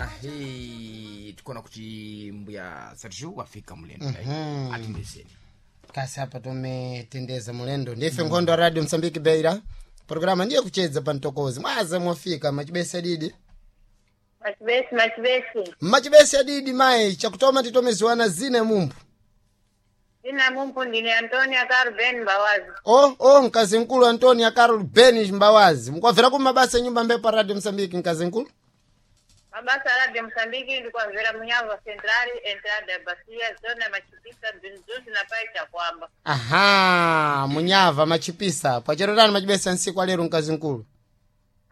Ahe, tikuona kuti mbuya Sergio wafika mulendo. Atindeseni. Kasi apa tometendeza mulendo ndife nkhondo wa Radio Msambiki Beira, programa ndiye kuchedza pa mtokozi. Mwaza mwafika machibesi adidi? Machibesi, machibesi. Machibesi adidi mayi, chakutoma titomeziwana zina mumpu. Zina mumpu ndine Antonia Carben Mbawazi. Oh, mkazi mkulu Antonia Carol Ben Mbawazi, mkwabvera ku mabasa nyumba mbepo Radio Msambiki, mkazi mkulu? Mabasa a Radio Msambiki ndikwamvera Munyava Central, entrada ya Bacia, zona Machipisa, Bzinzuzi na pai Chakwamba. Aha, Munyava Machipisa. Pacherotani machibesa nsiku alero, mkazi mkulu?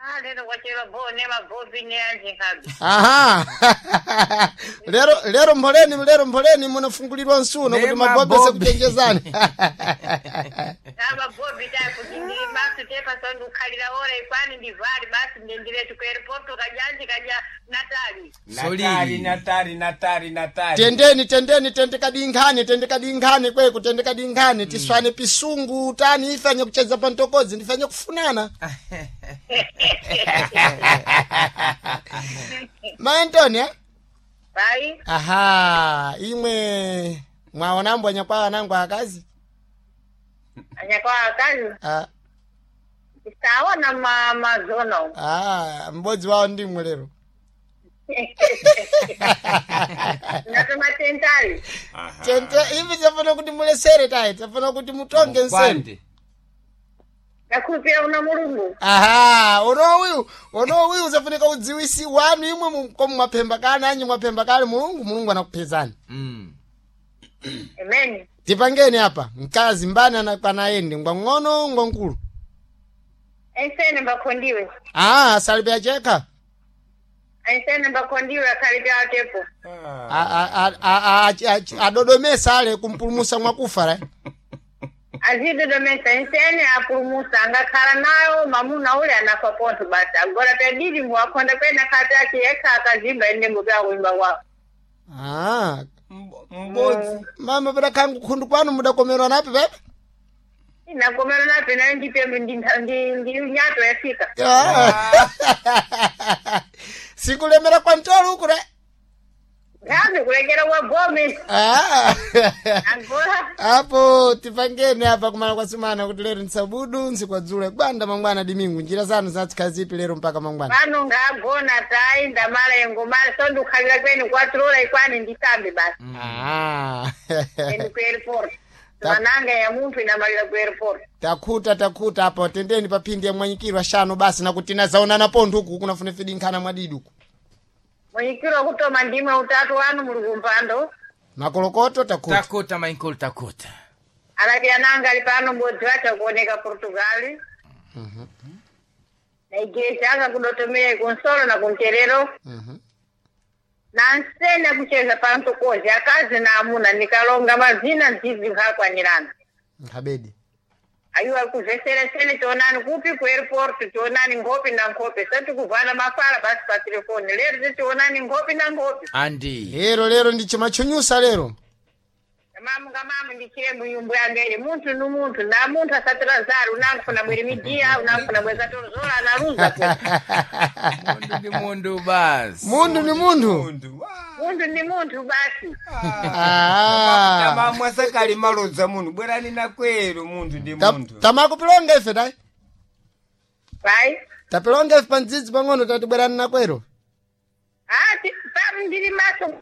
Ah, lero kwachera bo ne mabobi ne anjingabi. Aha. Lero lero mpoleni, lero mpoleni munafungulirwa nsuno kuti Ne mabobi mabobi. sekuchenjezani. Ta mabobi ta kuti ndiri basi tepa sondu khalira ora ikwani ndivali basi ndendiretu ku airport kajanji kaja Natali. Natali, Natali, Natali, Natali. Tendeni, tendeni, tendekadinkhani, tendekadinkhani kweku, tendekadinkhani tiswane pisungu tani ifanye kucheza pa mtokozi ndifanye kufunana. Ma Antonia? Pai. Aha, imwe mwaonambo anyakwawa nangu akazi? Anyakwa akazi. Ah, Sawa ma mazono. ah, m'bodzi wawo ndimwe lero. Natuma tentali. Tente ivi tafuna kuti mulesere tayi, tafuna kuti mutonge nsene. Kwande. Nakupira una Mulungu. Aha, unowiu unowiu usafunika udziwisi wanu imwe komu mwaphemba kale anyi mwaphemba kale Mulungu, Mulungu anakupezani. Amen. Tipangeni apa mkazi mbani anakwana ngwang'ono ngwankulu? Ensene mbakondiwe. Ah, salibe achekha. Ensene mbakondiwe akhalipya atepo. Adodomesa ale kumpulumusa mwakufa ra. Azidodomesa ensene apulumusa angakhala nayo mamuna ule anafa pontho basi agora pedili mwakonda pena khati achiyekha akazimba ende mbuya kuimba kwawo. Ah, Mbodzi. mama padakhangu khundu kwanu mudakomerwa napi pepe? Inakomero nape nayo ndipembe ndi nyato yafika. Ah. Sikulemera kwa mtolo uku re. Ngabe kulekera kwa gome. Ah. Agora Apo tipangeni apa kumala kwa sumana kuti lero nsabudu nsikwadzule gwanda mangwana dimingu njira zanu zatsikhazipi lero mpaka mangwana? Pano ngagona tayi ndamala yengomala so ndikukhalira kwenu kwatrola ikwani ndisambe basi. Ah. Ende ku airport. Mananga ya munthu inamalira ku airport. Takhuta, takhuta apo tendeni paphindi ya mwanyikirwa shano basi nakuti nazaonana pontho uku kunafuna fidinkhana mwadidi uku. Mwenyikiro kutoma ndimwe utatu wanu muli kumpando. Makolokoto, takhuta. Takhuta mainkulu, takhuta. Alapya nanga ali pano mbodzi wacho kuoneka Portugal. Na igreja anga kudotomera kunsolo na kunterero. Na nsene kucheza pantokozi akazi na amuna nikalonga mazina nzizi nkakwanirana. Nkhabedi. Ayiwa kuvhesera sene tionani kupi ku airport, tionani nkhope na nkhope sati kuvana mafala basi pa telefoni lero titionani nkhope na nkhope. Andi. Lero lero ndi chimachunyusa lero. Mamu ngamamu ndichire muyumbu yange munthu nu munthu na munthu asatirazari unangufuna bwere midia unangufuna bweza tozola analuza po. Mundu ndi mundu basi. Munthu ni munthu. Mundu. Munthu ni munthu basi. Ah. Tamamwa sakali malodza munhu bwerani nakwero munthu ndi munthu. Tamakupilonga ife tayi. Pai. Tapilonga ife pandzidzi pang'ono tatibwerani nakwero. Ah, pa ndiri maso.